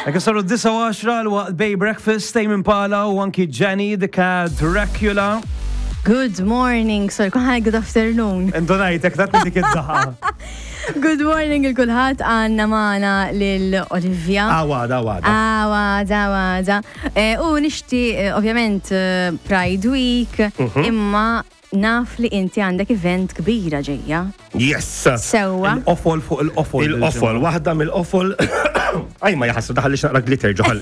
Ekk saru d-9 l-waqt Bay Breakfast, Tame Impala u anki Jenny the Cat Dracula. Good morning, sorry, kuħan good afternoon. Indunajtek, dak dik id-daħa. Good morning il-kulħat għanna maħna lil Olivia. Għawada, għawada. Għawada, għawada. Eh, u nixti, eh, ovvjament, eh, Pride Week, imma naf li inti għandek event kbira ġejja. Yes! Sewwa. Il-qofol fuq il-qofol. Il-qofol, waħda mill-qofol. Aj, ma jaħassu daħallix naqra glitter ġoħal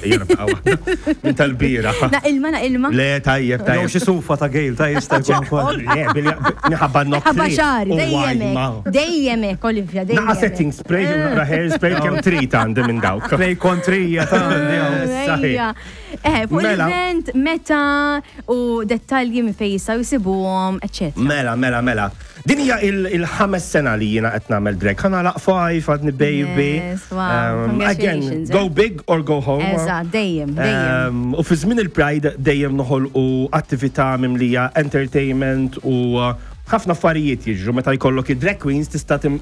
Minn tal-bira. Na ilma, na ilma. Le, tajjeb, Jew tajjeb. xi sufa ta' Gail ta' jista' jkun ukoll. Le, bilja, minħabba nok. Ħabba xari, dejjem hekk, dejjem hekk, Olivia, dejjem. Naqa setting spray, u naqra hairspray, kemm trid għandi minn dawk. Play kontrija ta' għandi hawn. Ejja. Eh, fuq Mela. l-event, meta u dettalji minn fejn jistgħu jsibuhom, eċetera. Mela, mela, mela. Din hija il-ħames sena li jiena qed nagħmel drag. Ħa nagħlaq five, għadni baby. Yes, wow. Again, Congratulations, go eh. big or go home. Eżatt, dejjem, dejjem. U fi żmien il-Pride dejjem noħolqu attività mimlija entertainment u ħafna affarijiet jiġru meta jkollok id-drag queens tista' tim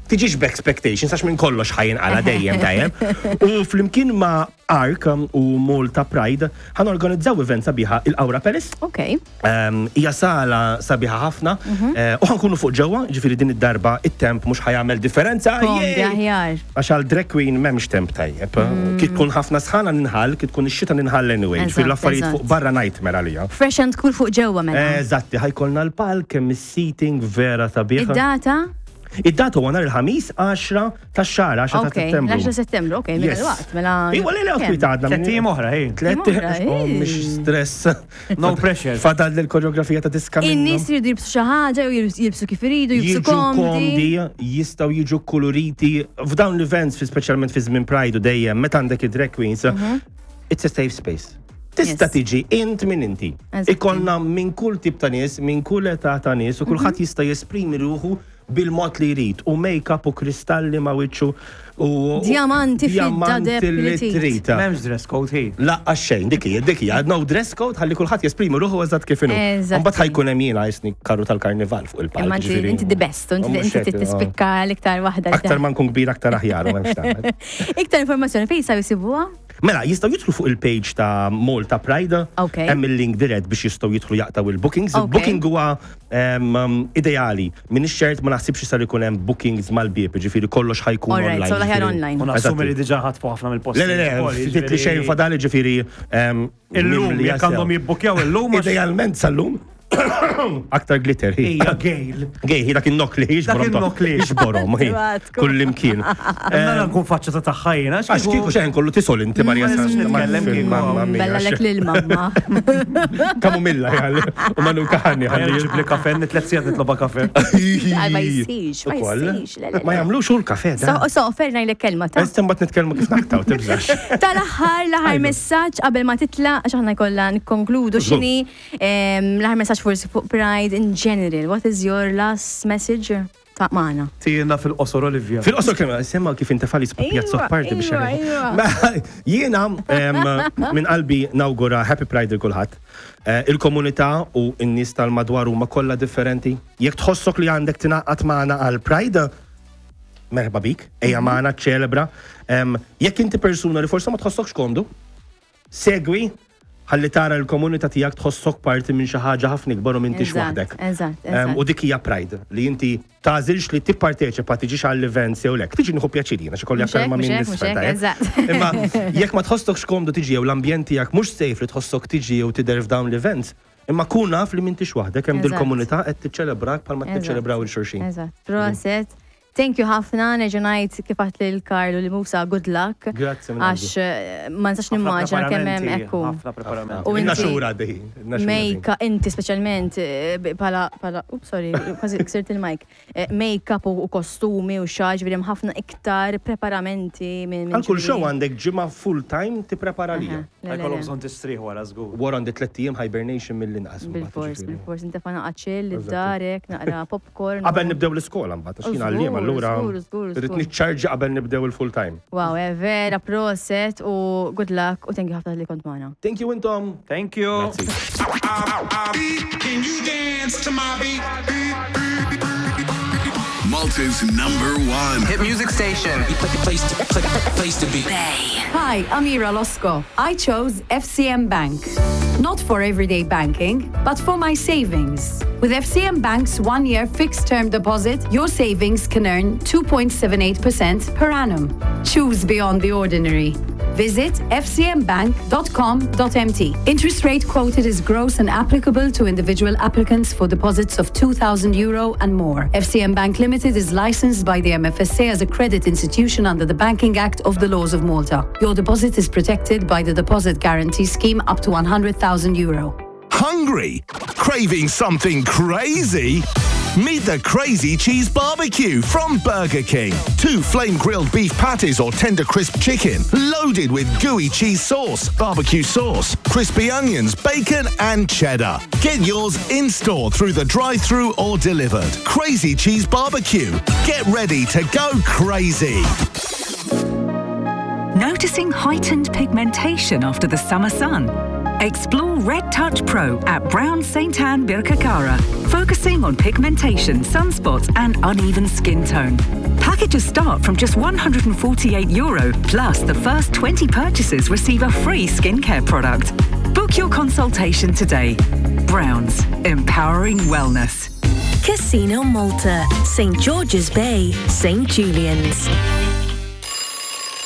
tiġix b'expectations għax minn kollox ħa jinqala dejjem dejjem. U flimkien ma' Ark u Malta Pride ħa norganizzaw event sabiħa il-Aura Palace. Ok. Hija sala sabiħa ħafna u ħa nkunu fuq ġewwa, ġifieri din id-darba it-temp mhux ħa jagħmel differenza. Komdi Yay! aħjar. Għax għal drag queen m'hemmx temp tajjeb. Kif tkun ħafna sħana ninħall, kif tkun ix-xita ninħall anyway. Ġifieri Eżatt, l-affarijiet eżatt. fuq barra nightmare għalija. Fresh and cool fuq ġewwa mela. Eżatti, ħa jkollna l-palk, hemm is-seating vera sabiħa. Id-data? Id-data huwa nhar il-Ħamis 10 tax-xahar, 10 ta' Ok, Settembru. l-10 settembru, ok, mela Yes. l-waqt, mela. Iwa, le, le, kemm? kwiet għadna. Tlett ijiem oħra, ej. Tlett Oħra, oh, ej. mhix stress. No pressure. Fadal l-koreografija ta' diska In-nies minnhom. jridu jilbsu xi ħaġa, jew jilbsu kif iridu, jilbsu Jiġu komdi, komdi. jistgħu jiġu koloriti. F'dawn l-events, fi speċjalment fi żmien Pride u dejjem, meta għandek id-drag queens, it's a safe space. Tista' tiġi int minn inti. Eżatti. Ikollna minn kull tip ta' nies, minn kull età ta' nies, u kulħadd jista' jesprimi ruħu bil-mod li jrid. U make-up u kristalli ma' wiċċu u Diamanti, fidda, diamanti deb li li trid. trid. M'hemmx dress code hi. Laqqa xejn, dik hija, dik hija, no dress code, ħalli kulħadd jesprimi ruħu eżatt kif inhu. Eżatti. Mbagħad ħa jkun hemm jiena jisni karru tal-karnival fuq il-palk. Imma inti ġifieri. inti the best, u inti Mhux inti hekk, oh. tispikka l-iktar waħda. li Aktar ma nkun kbir aktar aħjar u m'hemmx tagħmel. Iktar informazzjoni fejn jistgħu jsibuha? Mela, jistgħu jidħlu fuq il-page ta' Malta Pride. Hemm il-link dirett biex jistgħu jidħlu jaqtaw il-bookings. Il-booking huwa ideali. Min ix-xert ma naħsibx sar ikun hemm bookings mal-bieb, ġifieri kollox ħa jkun Alright, online. so l-aħjar ġifieri. online. U nassumi li Eżatti. diġà ħatfu ħafna mill-posti. Le, le, le, ftit li xejn fadali ġifieri Illum, mimlija jekk għandhom sew. jibbukjaw illum. Idealment sal-lum. Aktar glitter, hi. Ija, Gail. Gej, hi dak in-nokli, hi Dak in-nokli. Ixborom, hi. Tbatku. Kull imkien. Mela nkun faċċata tagħha jiena. Għax kieku xejn kollu tisol inti Marja Ma nistax Santa. nitkellem kieku. Mamma mia. Bella lek lil mamma. Kamumilla jgħalli. U manu kaħani Ħalli ħalli. ġib li kafe, nitlet sigħat nitloba kafe. Għal ma jsirx, ma Ukoll. jsirx. le, le, le. Ma jagħmlux hu l-kafe So, da. so, offerna jlek kelma ta' Issa mbagħad nitkellmu kif naqtaw, tibżax. Tal-aħħar, l-aħħar messaġġ qabel ma titla, għax aħna jkollna nikkonkludu x'inhi l-aħħar messaġġ forsi fuq Pride in general. What is your last message ta' magħna? Tijna fil-qosor Olivia. Fil-qosor kemm semma kif intefali spapjazzo Iwa, parti biex iwa, jagħmel. iwa. Ma- Jiena minn qalbi nawgura Happy Pride il kulħadd. Il-komunità u n-nies tal-madwar huma kollha differenti. Jekk tħossok li għandek tingħaqad magħna għal Pride, merħba bik, ejja magħna ċelebra. Jekk inti persuna li forsi ma tħossokx komdu, segwi ħalli tara l-komunità tiegħek tħossok parti minn xi ħaġa ħafna ikbar u m'intix Eżatt, waħdek. eżatt, eżatt. U dik hija pride li inti tagħżilx li tipparteċipa tiġix għall-events jew lek. Tiġi nieħu pjaċir jiena xi kolli Mhux aktar hekk, ma' mhux min hekk, mhux nisfel hekk, tajjeb. eżatt. Imma jekk ma tħossokx komdu tiġi jew l-ambjent tiegħek mhux safe li tħossok tiġi jew tidher f'dawn l-events, imma kun naf li m'intix waħdek hemm Eżatt. dil-komunità qed tiċċelebrak bħalma Eżatt. tiċċelebraw il-xulxin. Eżatt. Proset. Thank you ħafna, nerġa' ngħid kif għedt lil Karlu li Musa good luck. Grazzi minn Għax ma nistax nimmaġina kemm hemm ekku. Ħafna preparamenti. U Inna inti- xhur għaddej. inna xhur għaddej. Make inti speċjalment bħala bħala ups sorry, kważi ksirt il-mic. Make-up u kostumi u xaġ, ġifieri hemm ħafna iktar preparamenti minn Għal kull ġifieri- show għandek ġimgħa full time tipprepara lija. Aha, le, le, Ħajkollhom le. bżonn tistrieħ wara żgur. Wara għandi tlett ijiem hibernation mill-inqas. mbagħad, Bil-fors, ġifieri. bil-fors, intefa naqra chill, id-darek, naqra popcorn. Qabel nibdew l-iskola mbagħad, għax jien għalliem Żgur, allura żgur, żgur, irrid żgur. niċċarġa qabel nibdew il-full time. Wow, vera proset u good luck u thank you ħafna li kont magħna. Thank you intom. Thank you. Grazzi. Can you dance to my beat? Malta's number one. Hit music station. Place to, place to be. Bay. Hi, I'm Ira Losco. I chose FCM Bank. Not for everyday banking, but for my savings. With FCM Bank's one year fixed term deposit, your savings can earn 2.78% per annum. Choose beyond the ordinary. Visit fcmbank.com.mt. Interest rate quoted is gross and applicable to individual applicants for deposits of 2,000 euro and more. FCM Bank Limited is licensed by the MFSA as a credit institution under the Banking Act of the Laws of Malta. Your deposit is protected by the Deposit Guarantee Scheme up to 100,000 euro. Hungry? Craving something crazy? Meet the Crazy Cheese Barbecue from Burger King. Two flame grilled beef patties or tender crisp chicken, loaded with gooey cheese sauce, barbecue sauce, crispy onions, bacon, and cheddar. Get yours in store through the drive through or delivered. Crazy Cheese Barbecue. Get ready to go crazy. Noticing heightened pigmentation after the summer sun? Explore Red Touch Pro at Brown St. Anne Birkakara, focusing on pigmentation, sunspots, and uneven skin tone. Packages start from just 148 euro, plus the first 20 purchases receive a free skincare product. Book your consultation today. Browns, empowering wellness. Casino Malta, St. George's Bay, St. Julian's.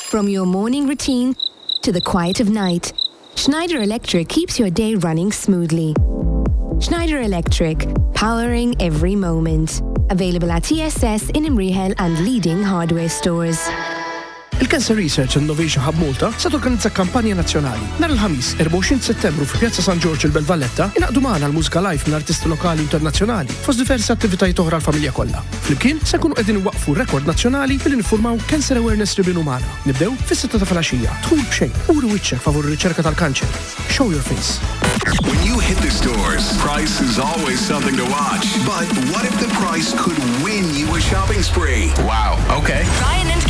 From your morning routine to the quiet of night, Schneider Electric keeps your day running smoothly. Schneider Electric, powering every moment. Available at TSS in Imrihel and leading hardware stores. Il-Cancer Research and Innovation Hub Malta se torganizza kampanja nazzjonali. Nhar il-Ħamis, 24 Settembru fi Pjazza San Ġorġ il-Belt Valletta, ingħaqdu magħna l-mużika live minn artisti lokali u internazzjonali fost diversi attivitajiet oħra għall-familja kollha. Flimkien se nkunu qegħdin inwaqqfu rekord nazzjonali billi niffurmaw Cancer Awareness Ribbon Umana. Nibdew fis-sitta ta' filgħaxija. Dħul b'xejn. Uri wiċċek favur ir-riċerka tal-kanċer. Show your face. When you hit the stores, price is always something to watch. But what if the price could win you a shopping spree? Wow. Okay. Ryan and